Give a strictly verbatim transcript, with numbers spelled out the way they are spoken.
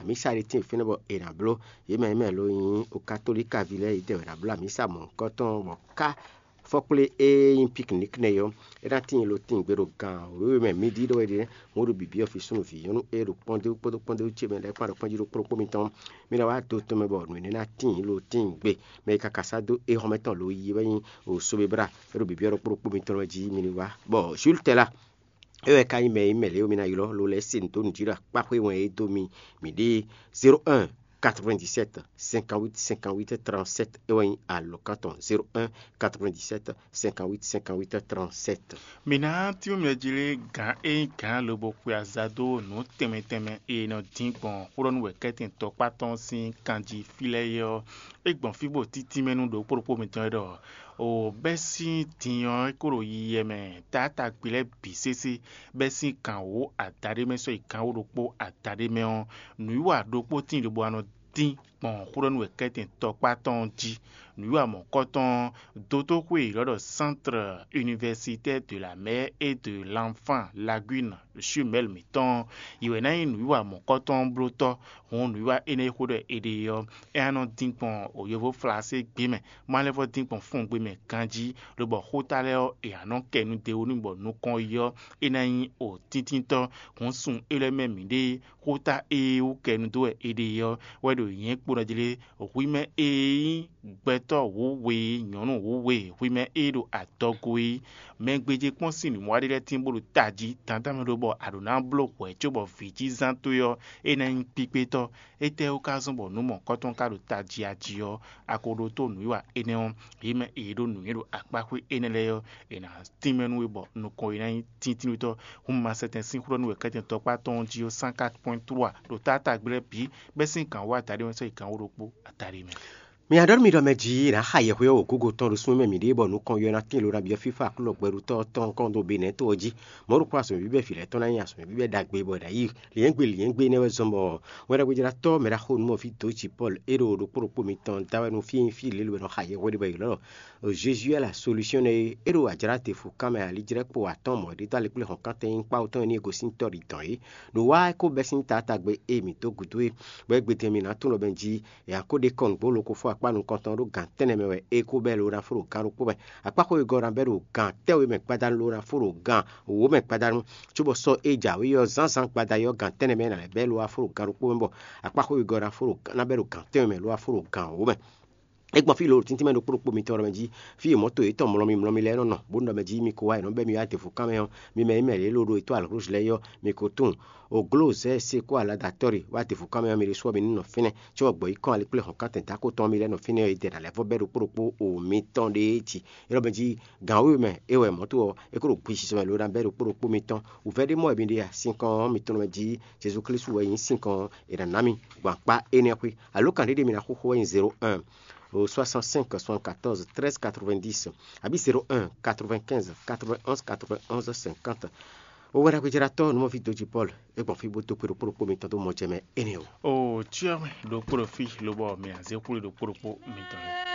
Amísa ɖé tíin fínɛ́ bɔ è nǎ bló yě mɛ e mɛ lo nyí okatolíkaví lɛ́ɛ yědɛɛ wɛ ná bló amǐsa mɔ̌hunkɔtɔn bɔ ká fɔkplé e nyí piknik nɛ́ ɔ́, é ná tíin lo tíin gbe ɖo gan wěwe mɛ mǐ ɖi ɖɔ wɛ ɖe. Mɔ̌ ɖo bǐbí ɔ́ fi súnnu vǐ nyɔ́nu e ɖo kpɔ́ndéwú kpódó kpɔ́ndéwú ce mɛ lɛ́ɛ kpán ɖo kpɔ́njí ɖokpó ɖokpó mitɔn. Mí ná wá do tɔn mɛ bɔ nǔ énɛ́ ná tíin lo tíin gbe. Mɛ e ka ka sá dó éhɔ́mɛ tɔn lo yi wɛ nyí o Sobebra, é ɖo bǐbí ɔ́ ɖokpó ɖokpó mitɔn wɛ jí mi ní wá. Bɔ Jules Tɛla, é wɛ ka nyí mɛ e nyí mɛ lě e mì ná ylɔ́ lo lɛ́ɛ se nǔ dó nǔ jí ɖo akpáxwé wɛn e dó mi mǐ ɖe zéro un quatre-vingt-dix-sept cinquante-huit cinquante-huit trente-sept, é wɛ nyí alɔ̌kan tɔn zéro un quatre-vingt-dix-sept cinquante-huit cinquante-huit trente-sept. Mǐ ná tínmɛ jí lé gǎn e nyí gǎn lobo xwe aza dó nǔ tɛnmɛ tɛnmɛ e nɔ dín gbɔn xwlɔ́nú wɛ kɛ́tɛn tɔkpá tɔn sín kanjí fí lɛ́ɛ é ɔ́, é gbɔn fí bó títí mɛ nú ɖokpó ɖokpó mitɔn é ɖɔ o bɛ́ sín din ɔ́ é kó ɖo yiyɛ mɛ taátagbe lɛ́ɛ bǐ sésé, bɛ́ sín gǎn wǒ adaɖé mɛ sɔ́ yi gǎn wǒ ɖokpó adaɖé mɛ ɔ́, nǔwiwa ɖokpó tíin lobo wá nɔ dín gbɔn xwlɔ́nú wɛ kɛ́tɛn tɔkpá tɔn jí. Nǔwiwa mɔ̌kɔtɔn ɔ́, dótóxwé e è ylɔ́ ɖɔ Centre Universitaire de la Mer et de l'Enfant Lagune, Jumelle mǐtɔn ɔ́, yě wɛ ná nyí nǔwiwa mɔ̌kɔtɔn ɔ́ blótɔ́. Hǔn nǔwiwa énɛ́ e xó ɖɔ è ɖe é ɔ́, é ná nɔ dín gbɔn yovo Flaségbé mɛ, má lɛ́ vɔ́ dín gbɔn fɔngbe mɛ ganjí, lobɔ xóta lɛ́ɛ ɔ́, è nǎ nɔ kɛ nu d'é wú n'i bɔ nukɔn yi ɔ́, é ná nyí o tíntíntɔ́. Hǔn sun é lɛ́ɛ mɛ mǐɖée, xóta e wú kɛ nu dó wɛ è ɖe é ɔ́, wɛ ɖo nyɛ̌ kpo nɔ jlé hwi mɛ e nyí gbɛtɔ́ wǔwe, nyɔ̌nu wǔwe, hwi mɛ e ɖo adɔgo é. Mɛ gbéjé kpɔ́n sín nǔwiwa ɖé lɛ́ɛ tín bó ɖo tají dandan mɛ ɖó bɔ a ɖǒ ná bló hwɛ̌ cóbɔ vǐ jí zán towe ɔ́, é ná nyí kpíkpétɔ́. Étɛ́wú ka zɔ́n bɔ nǔ mɔ̌kɔtɔn ka ɖo tají ají ɔ́, a ko ɖótó nǔwiwa énɛ́ ɔ́, yě mɛ e yě ɖo nǔnywɛ́ ɖo akpáxwé énɛ́ lɛ́ɛ ɔ́, è nǎ tínmɛ nú we bɔ nukɔn e ná nyí tíntínnútɔ́. Hǔn ma sɛtɛn sín xwlɔ́nú wɛ kɛ́tɛn tɔkpá tɔn jí ɔ́, cent quatre point trois ɖo taátagbe lɛ́ɛ bǐ, bɛ́ sín gǎn wú adaɖé mɛ sɔ́ yi gǎn wú ɖokpó adaɖé mɛ. Mi ná ɖɔ nú mi ɖɔ mɛ jí è nǎ xa yɛhweɔ́ wǒgúngotɔn ɖo súnnu mɛ mǐɖée bɔ nukɔn yɔ ná tín lo ná byɔ́ fífá Aklúnɔ gbɛɖutɔ́ tɔn kɔn ɖo Benɛ̌ to ɔ́ jí. Mɔ̌ ɖokpó azɔ̌mɛví bɛ́ vǐ lɛ́ɛ tɔn ná nyí azɔ̌mɛví bɛ́ ɖagbe bɔ è nǎ yi lyɛ̌ngbé lyɛ̌ngbé énɛ́ wɛ zɔ́n bɔ wɛnɖagbejáratɔ́ mɛ ɖaxó Nǔmɔví dó jǐ Pɔ́lu é ɖo ɖokpó ɖokpó mitɔn da wɛ nú fí e nyí fí lě lo è nɔ xa yɛhweɖé bɔ è ylɔ́ ɖɔ Jésus est la solution nɛ́ é. É ɖo ajlǎ te fǔkán mɛ alíjlɛ́kpo atɔ́ɔ́n mɔ̌ ɖé dó alɛkplé hɔ̌nkántɛn nyíkpá tɔn e ní e gosín tɔ́ ɖi dɔ̌n é. Ɖo wá é kó bɛ́ sín taátagbe e mǐ dó gǔdo é, bɔ é gbe din mì ná tunwun ɖɔ mɛ jí è nǎ ko ɖe kɔn nǔgbó lokofó akpá nukɔntɔn ɖó gǎn tɛ́nnɛ mɛ wɛ é kó bɛ́ lo ná fó ɖo gǎn ɖokpó mɛ. Akpáxwé wegɔ́ ná bɛ́ ɖo gǎn tɛ́nwe mɛ gbada lo ná fó ɖo gǎn wǒ mɛ gbada nu, cóbɔ sɔ́ e jǎwe ɔ́ zánzán gbada ɔ́ gǎn tɛ́nnɛ mɛ ná lɛ́ bɛ́ lo wá fó ɖo gǎn ɖokpó mɛ bɔ akpáxwé wegɔ́ ná fó ɖo ná bɛ́ ɖo gǎn tɛ́nwe mɛ lo wá fó ɖo gǎn wǒ mɛ. É gbɔn fí lo ɖo tíntín mɛ ɖokpó ɖokpó mitɔn ɖɔ mɛ jí, fí e mɔ̌to yětɔn mlɔ́mí mlɔ́mí lɛ́ɛ nɔ nɔ, bó nɔ ɖɔ mɛ jí mi ko wá è nɔ bɛ́ mi wá dě fǔkán mɛ ɔ́, mi mɛ e mɛ lě lo ɖo etɔ́ alɔ̌glǔ lɛ́ɛ ɔ́, mi ko tunwun. Ogló zɛ́ se kó alada tɔ́ ɖe wá dě fǔkán mɛ ɔ́, mi ɖésú ɔ́ mi ní nɔ fínɛ́, cóbɔ gbɔ̌ yi kɔn alɛkplé hɔ̌nkántɛn dǎko tɔn ɔ́ mi lɛ́ nɔ fínɛ́ ɔ́, yě dɛ ná lɛ́ vɔ́ bɛ́ ɖokpó ɖokpó o mitɔn ɖe é jí. É ɖɔ mɛ jí gǎn wěwe mɛ é wɛ mɔ̌ to ɔ́, é kó ɖo gbishi sɔmɛ lo ná bɛ́ ɖokpó ɖokpó mitɔn. Wǔvɛ́ ɖé mɔ wɛ mi ɖe a? Sinkɔn ɔ́ mitɔn mɛ jí Jezu Klísu wɛ nyí sinkɔn ɔ́, è nǎ ná mi gbɔn akpá énɛ́ xwé. Alo kan ɖé ɖé mi ná xóxó wɛ nyí zéro un, soixante-cinq soixante-quatorze treize quatre-vingt-dix, abǐ zéro un quatre-vingt-quinze quatre-vingt-onze quatre-vingt-onze cinquante. Owɛɖagbejáratɔ́ Nǔmɔví Dǒji Pɔ́lu, é gbɔn fí bó dó kpé ɖokpó ɖokpó mitɔn dó mɔ jɛ mɛ énɛ́ o. O cyɔ mɛ ɖokpó ɖo fí lobɔ mǐ ná zé xwlé ɖokpó ɖokpó mitɔn.